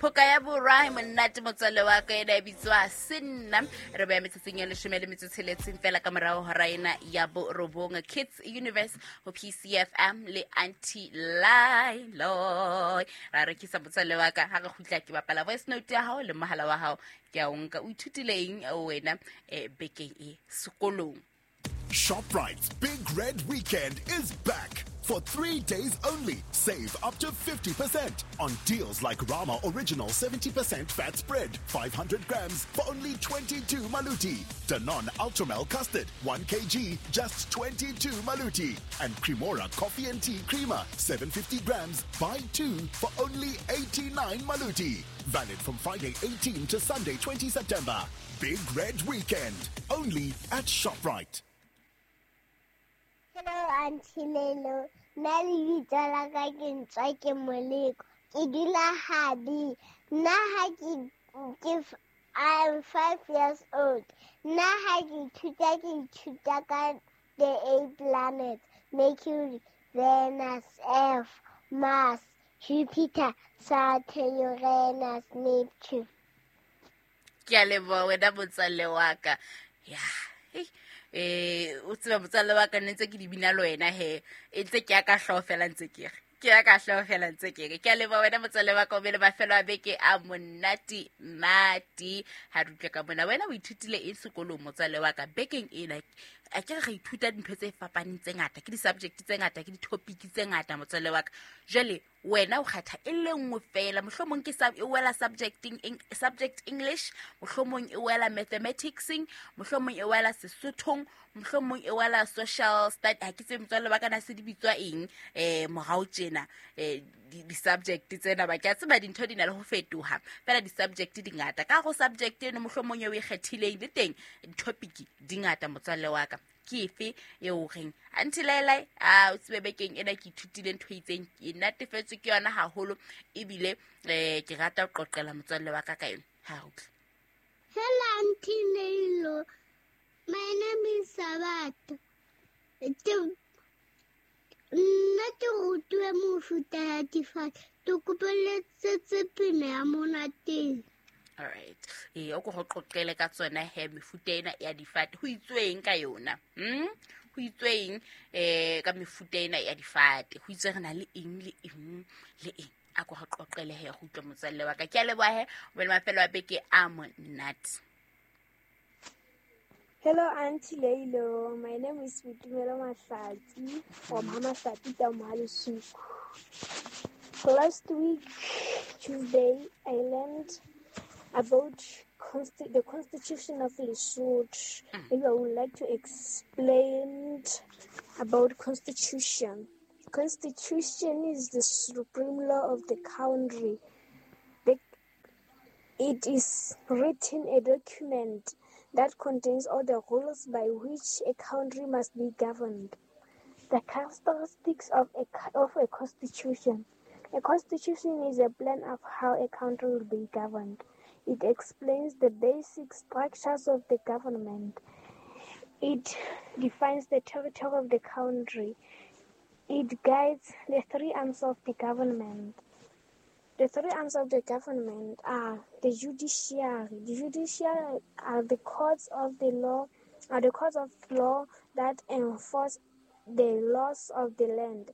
Phoka ya borwa e monate motswalle wa ka, ena e bitswa Senna. Re beya metsotsong ya 16 fela ka morago hora ena ya borobong. Kids Universe go PCFM le Auntie Lilo. Ra rekisa motswalle wa ka, ha re kgutla ke bapala voice note ya hao le mohala wa hao ke a o nka. O ithutile eng wena bekeng e sekolong? ShopRite's Big Red Weekend is back. For 3 days only, save up to 50% on deals like Rama Original 70% fat spread, 500 grams for only 22 maluti. Danone Ultramel Custard, 1 kg, just 22 maluti. And Cremora Coffee and Tea Creamer, 750 grams, buy 2 for only 89 maluti. Valid from Friday 18 to Sunday 20 September. Big Red Weekend, only at ShopRite. Hello, Auntie Lelo. Nna lebitso la ka ke Ntswa ke Moleko. Ke dula Habi. Nna ha ke I'm 5 years old. Nna ha ke ithuta ka the 8 planets: Mercury, Venus, Earth, Mars, Jupiter, Saturn, Uranus, Neptune. Ke a leboha wena motswalle wa ka. Ya, o tseba motswalle wa ka, nne ntse ke di bina le wena he. E ntse ke ya ka hlooho fela ntse ke re. Ke ya ka hlooho fela ntse ke re. Ke a leboha wena motswalle wa ka, o be le mafelo a beke a monate nate. Ha re utlwe ka mona, wena o ithutile eng sekolong motswalle wa ka bekeng ena? A ke re ithuta dintho tse fapaneng tse ngata, ke di-subject tse ngata, ke di-topic tse ngata motswalle wa ka. Jwale wena o kgetha e le nngwe fela, mohlomong ke e wela subject English, mohlomong e wela mathematicseng, mohlomong e wela Sesothong, mohlomong e wela social study. Ha ke tsebe motswalle wa ka na se di bitswa eng morao tjena, di-subject tsena ba ke a tseba dintho di na le ho fetoha fela, di-subject di ngata. Ka go subject eno mohlomong eo e kgethileng le teng di-topic di ngata motswalle wa ka. Ke efe eo reng Auntie Lailai, a o tsebe bekeng ena ke ithutile ntho e itseng, ke natefetswe ke yona haholo, ebile ke rata ho qoqela motswalle wa ka ka yona. Ha re utlwe. Hello Auntie Leilo, my name is Sabato. Nna ke rutuwe mofuta ya difate, ke kopeletsetse pina ya monateng. All right. O ko go qoqele ka tsona he mefuta ena ya difate. Ho itsweng ka yona? Ho itsweng ka mefuta ena ya difate? Ho itswe re na le eng le eng le eng? A ko go qoqele he go utlwa motswalle wa ka. Ke a leboha he, o be le mafelo a beke a monate. Hello Auntie Leilo, my name is Boitumelo Mahlatsi from Hamahlati Tamohalisuku. Last week, Tuesday, I learned about the Constitution of Lesotho. Maybe I would like to explain about Constitution. Constitution is the supreme law of the country. It is written a document that contains all the rules by which a country must be governed. The characteristics of a constitution. A constitution is a plan of how a country will be governed. It explains the basic structures of the government. It defines the territory of the country. It guides the three arms of the government. The three arms of the government are the judiciary. The judiciary are the courts of the law, are the courts of law that enforce the laws of the land.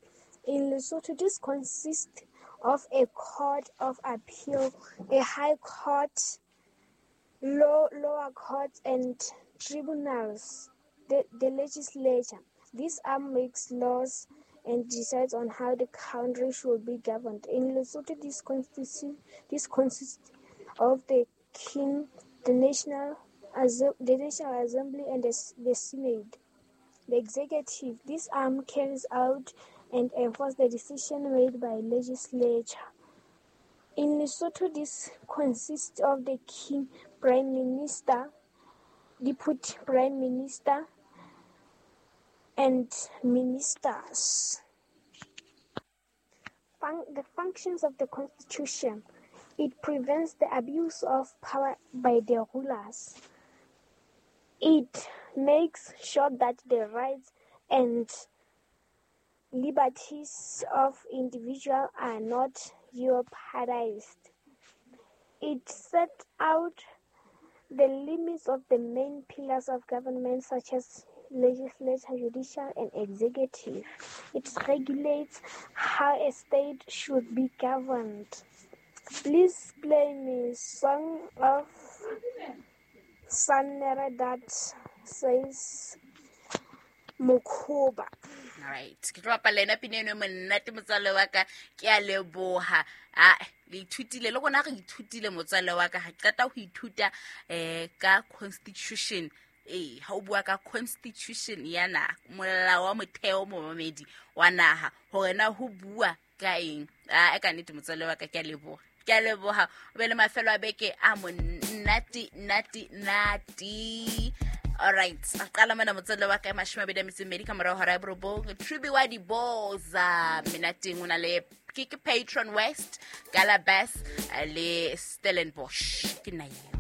In Lesotho, this consists of a court of appeal, a high court, lower courts, and tribunals. The legislature. This arm makes laws and decides on how the country should be governed. In Lesotho, this consists of the king, the National Assembly, and the Senate. The executive. This arm carries out and enforces the decision made by legislature. In Lesotho, this consists of the king, prime minister, deputy prime minister, and ministers. The functions of the Constitution. It prevents the abuse of power by the rulers. It makes sure that the rights and liberties of individuals are not jeopardized. It set out the limits of the main pillars of government such as legislature, judicial, and executive. It regulates how a state should be governed. Please play me song of Sannere that says Mokhoba. Alright, ke tlo bapala ena pina eno e monate motswalle wa ka. Ke a leboha. A le ithutile le rona, re ithutile motswalle wa ka. Ga qeta ho ithuta ka constitution. Ee, ha o bua ka constitution ya naha, molao wa motheo, momamedi wa naha, hore na ho bua ka eng. A e ka nnete motswalle wa ka, ke a leboha, ke a leboha. O be le mafelo a beke a monate nate nate. Alright, a qala mona motswalle wa ka, 28 ka morago hora ya 9. Tribi wa diboza menateng, o na le ke Patron West, Galabas le Stellenbosch. Ke nna eo.